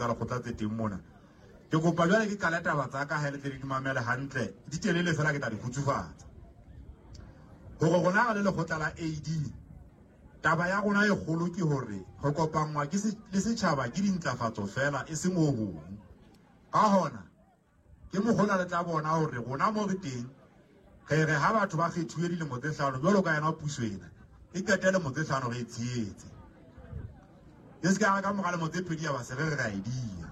tsa lekgotla tse teng mona. Ke kopa jwale ke qale taba tsa ka ha le tle le di mamele hantle, di telele fela ke tla di kgutsufatsa. Hore rona re le lekgotla la AD, taba ya rona e kgolo ke hore re kopanngwa ke le setjhaba ke dintlafatso fela e seng ho hong. Ka hona, ke mokgona le tla bona hore rona mo re teng, re re ha batho ba kgethuwe dilemo tse 5 jwalo ka yona puso ena, e qete lemo tse 5 re e tshehetse. E se ka ka mora lemo tse 2 ya ba se re re ra e dia.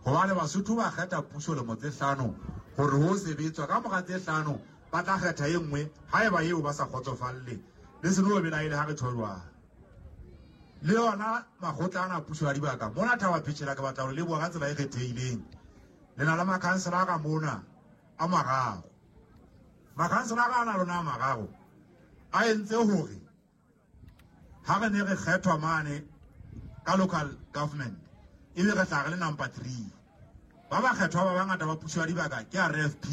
Hobane Basotho ba kgetha puso lemo tse 5 hore ho sebetswa, ka mora tse 5 ba tla kgetha e nngwe haeba eo ba sa kgotsofalle. Le se no belaele ha re tjho jwalo. Le yona makgotla ana a puso ya dibaka mona Thaba Phechela ke batla ho leboha ka tsela e kgethehileng. Le na le makhansela ka mona a mararo. Makhansela a na lona a mararo a entse hore ha re ne re kgethwa mane ka local government ebe re tla re le number 3. Ba ba kgethwa ba bangata ba puso ya dibaka ke RFP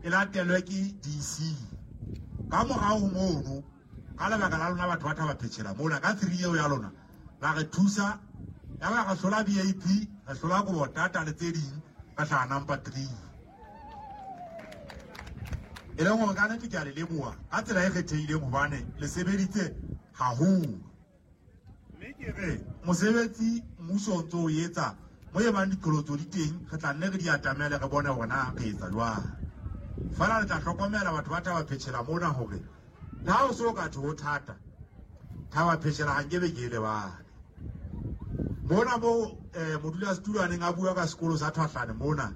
e latelwe ke DC. Ka morao ho mono, ka lebaka la lona batho ba Thaba Phechela mona ka 3 eo ya lona la re thusa, ya ba re hlola BAP, re hlola Kobotata le tse ding, re hlaha number 3. E leng hore ka nnete ke a le leboha ka tsela e kgethehileng hobane le sebeditse haholo. Mme ke re mosebetsi mmuso o ntso o etsa mo e bang diqholotso di teng, re tla nne re di atamele re bone hore na re etsa jwang. Feela le tla hlokomela batho ba Thaba Phechela mona hore le ha o so ka thwe ho thata, Thaba Phechela ha nkebe ke e lebale. Mona mo modulasetulo a neng a bua ka sekolo sa Thwahlane mona,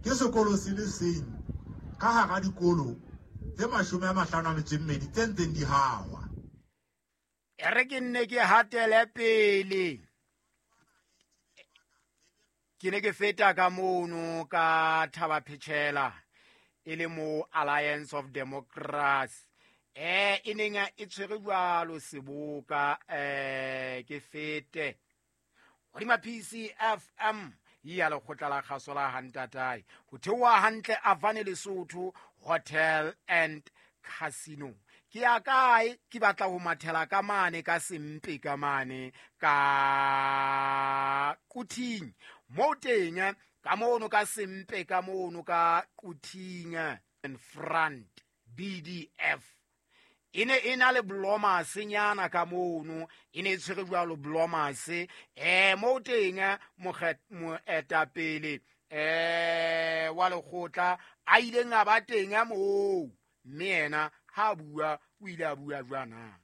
ke sekolo se le seng ka hara dikolo tse 52 tse ntseng di hahwa. E re ke nne ke hatele pele. Ke ne ke feta ka mono ka Thaba Phechela e le mo Alliance of Democrats. E neng e tshwere jwalo seboka, ke fete hodima PCFM ya lekgotla la kgaso la Hantatae ho theoha hantle Avane Lesotho Hotel and Casino. Ke ya kae? Ke batla ho mathela ka mane ka sempe ka mane ka Quthing moo teng ka mono ka sempe ka mono ka Quthing in front BDF e ne e na le blomase nyana ka mono, e ne e tshwere jwalo blomase. Moo teng moetapele wa lekgotla a ileng a ba teng moo, mme yena ha bua o ile a bua jwana.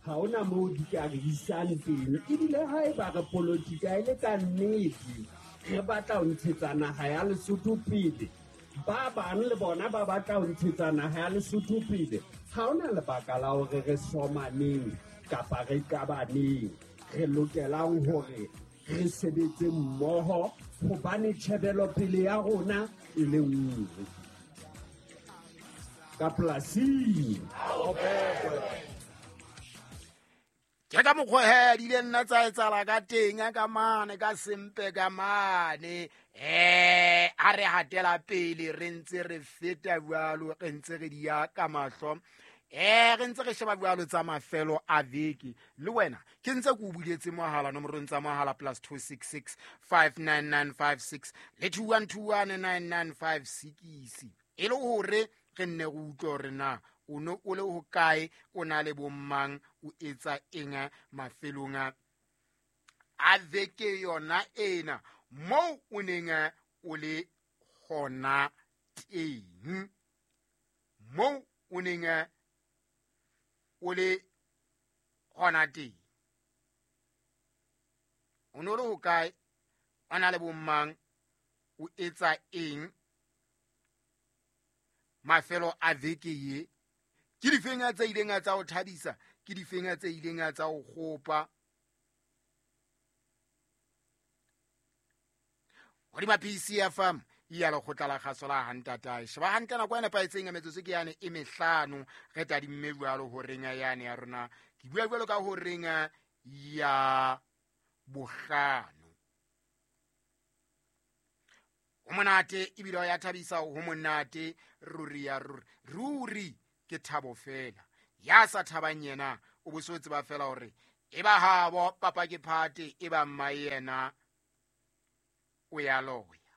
Ha hona moo di ka re isang teng, ebile haeba re politika e le ka nnete, re batla ho ntshetsa naha ya Lesotho pele, ba bang le bona ba batla ho ntshetsa naha ya Lesotho pele, ha hona lebaka la hore re somaneng kapa re qabaneng. Re lokelang hore re sebetse mmoho hobane tjhebelopele ya rona e le nngwe. Ka polasing. Ke ka mokgwa he di ile nna tsa etsahala ka teng ka mane ka sempe ka mane. A re hatela pele re ntse re feta jwalo, re ntse re di ya ka mahlo. Re ntse re sheba jwalo tsa mafelo a veke. Le wena ke ntse ke o buletse mohala nomorong tsa mohala +266 59956 le 21219956. E le hore re nne re utlwe hore na o ne o le hokae, o na le bommang, o etsa eng mafelong a veke yona ena moo o neng o le hona teng, moo o neng o le hona teng. O ne o le hokae, o na le bommang, o etsa eng mafelo a veke ye? Ke difeng tse ileng tsa o thabisa, ke difeng tse ileng tsa o kgopa? Hodima PCFM ya lekgotla la kgaso la Hantatae. Sheba hantle nako e nepahetseng ya metsotso ke yane e mehlano re tadimme jwalo horeng yane ya rona. Ke bua jwalo ka horeng ya bohlano. Ho monate ebile ho ya thabisa, ho monate ruri ya ruri. Ruri ke thabo fela. Ya sa thabang yena o bo so tseba fela hore E ba habo papa ke phate, e ba mma yena o ya loya.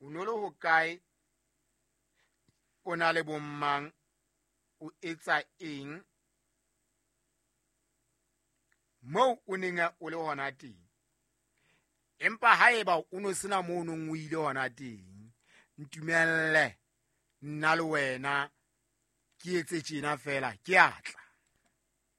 O no le hokae, o na le bommang, o etsa eng moo o neng o le hona teng? Empa haeba o no sena moo o neng o ile hona teng, ntumelle nna le wena ke etse tjena fela, ke a tla.